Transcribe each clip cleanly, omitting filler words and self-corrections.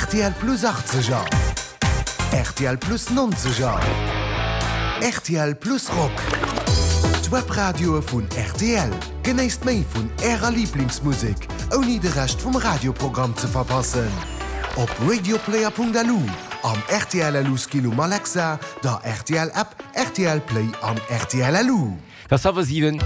Rtl Plus Achtzeger, rtl Plus Nonzeger, rtl Plus Rock. D'Webradioe vun rtl. Genéisst méi vun Ärer Liblingsmusek, ouni de Rescht vum Radioprogramm ze verpassen. Op radioplayer.lu, am rtl LU Skill um Alexa, der rtl App, rtl Play an rtl LU. Et ass hallwer 7.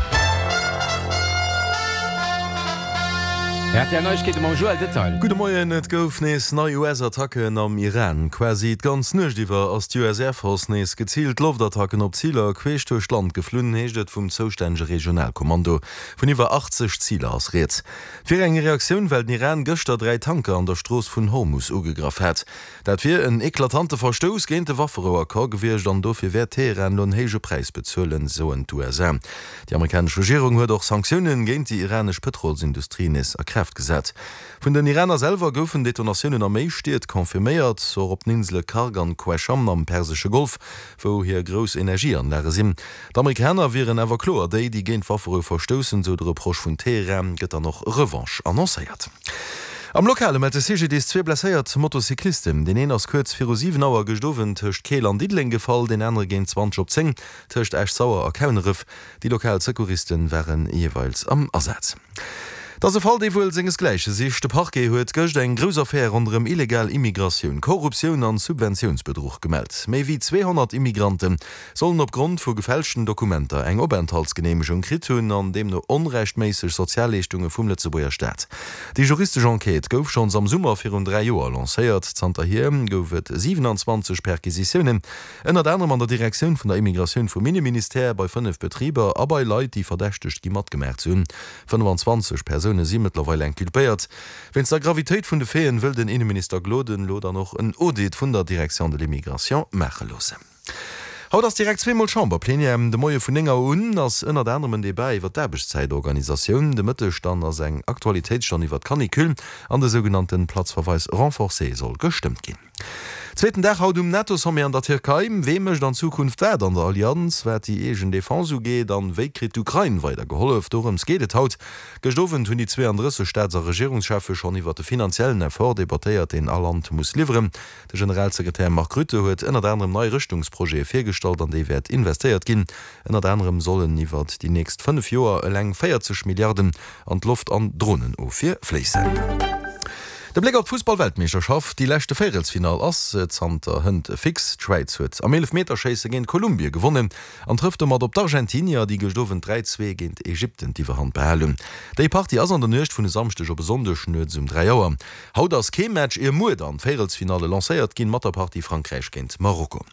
Rtl Neiegkeete mam Joël Detail. Gudde Moien, Et gouf nees nei US-Attacken am Iran. Quasi d'ganz Nuecht iwwer ass d'US Air Force nees geziilt Loftattacken op Ziler queesch duerch d'Land geflunn, heescht et vum zoustännege Regionalkommando. Vun iwwer 80 Ziler ass rieds. Et wier eng Reaktioun, well den Iran gëschter 3 Tanker an der Strooss vun Hormus ugegraff hat. Dat wier en eklatante Verstouss géint de Wafferou-Accord gewiescht an dofir wäert Teheran elo en héije Präis bezuelen, soen d'USA. Déi amerikanesch Regierung huet och Sanktioune géint déi iranesch Pëtrolsindustrie nees a Kraaft gesat. Vun den Iraner selwer goufen Detonatiounen a méi Stied confirméiert, och op den Insele Kharg an Qeshm am Persesche Golf, wou hir grouss Energieanlage sinn. D'Amerikaner wieren awer kloer déi, déi géint d'Wafferou verstoussen, sou de Reproche vun Teheran. Gëtt dann och Revanche annoncéiert. Am Lokale mellt de CGDIS zwee blesséiert Motocyclisten. Deen een ass kuerz viru 7 Auer gëscht Owend tëscht Keel an Diddeleng gefall, deen anere géint 20 op 10 tëscht Esch-Sauer a Kauneref. Déi lokal Secouriste ware jeeweils am Asaz. Et ass e Fall, dee wuel sengesgläiche sicht. De Parquet huet gëscht eng grouss Affär ronderëm illegal Immigratioun, Korruptioun an Subventiounsbedruch gemellt. Méi wéi 200 Immigrante sollen op Grond vu gefälschten Dokumenter eng Openthaltsgeneemegung kritt hunn an deemno onrechtméisseg Sozialleeschtunge vum Lëtzebuerger Staat. Déi juristesch Enquête gouf schonns am Summer virun 3 Joer lancéiert. Zanterhier gouf et 27 Perquisitiounen, ënnert anerem an der Direktioun vun der Immigratioun vum Inneministère, bei 5 Betriber a bei Leit, déi verdächtegt gi matgemaach ze hunn. 25 Persoune si mëttlerweil inculpéiert. Wéinst der Gravitéit vun de Faiten wëll den Inneminister Gloden elo dann och en Audit vun der Direction de l'immigration maache loossen. Haut ass direkt zweemol Chamberplenière. De Moie vun 9 Auer un ass ënnert anerem en Debat iwwer d'Aarbechtszäitorganisatioun. De Mëtteg dann ass eng Aktualitéitsstonn iwwer d'Canicule an de sougenannte Platzverweis renforcé soll gestëmmt ginn. Zweeten Dag haut um NATO-Sommet an der Tierkei. Wee mécht an Zukunft wat an der Allianz, wat déi eegen Defense ugeet an wéi kritt d'Ukrain weider gehollef? Dorëms geet et haut. Gëscht Owend hunn déi 32 Staats a Regierungscheffe schonn iwwer de finanziellen Effort debattéiert, deen all Land muss liwweren. De Generalsekretär Mark Rutte huet ënnert anerem nei Rëschtungsprojete virgestallt, an déi wäert investéiert ginn. Ënnert anerem sollen iwwert déi nächst 5 Joer eleng 40 Milliarden an d'Loft an Dronenofwier fléissen. De Bléck op d'Fussball-Weltmeeschterschaft, Déi leschte Véierelsfinall ass zanter hënt fix. D'Schwäiz huet am Eelefmeterschéisse géint Kolumbie gewonnen an trëfft domat op d'Argentinier, déi gëscht Owend 3, 2 géint Ägypten d'Iwwerhand behal hunn. Déi Partie ass an der Nuecht vun e Samschdeg op e Sonndeg nuets um 3 Auer. Haut ass kee Match, ier muer dann d'Véierelsfinalle lancéiert ginn mat der Partie Frankräich géint Marokko.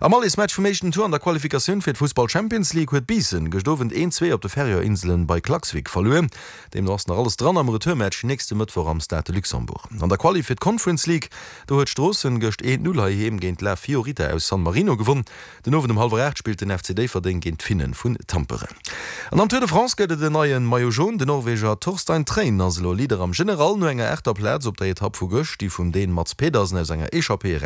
Am Allesmatch vum éischten Tour an der Qualifikatioun fir d'Fussball Champions League huet Biissen gëscht Owend 1, 2 op de Färöer Inselen bei Klaksvik verluer. Deemno ass nach alles dran am Retourmatch nächste Mëttwoch am Stade de Luxembourg. An der Quali fir d'Conference League, do huet Stroossen gëscht 1, 0 heiheem géint La Fiorita aus San Marino gewonn. Den Owend um hallwer 8 spillt den FC Déifferdeng géint d'Finnen vun Tampere. An am Tour de France gëtt et en neie Maillot Jaune. Den Norweger Torstein Træen ass elo Leader am General no enger aachter Plaz op der Etapp vu gëscht, déi vum Dän Mads Pedersen aus enger Echappée eraus.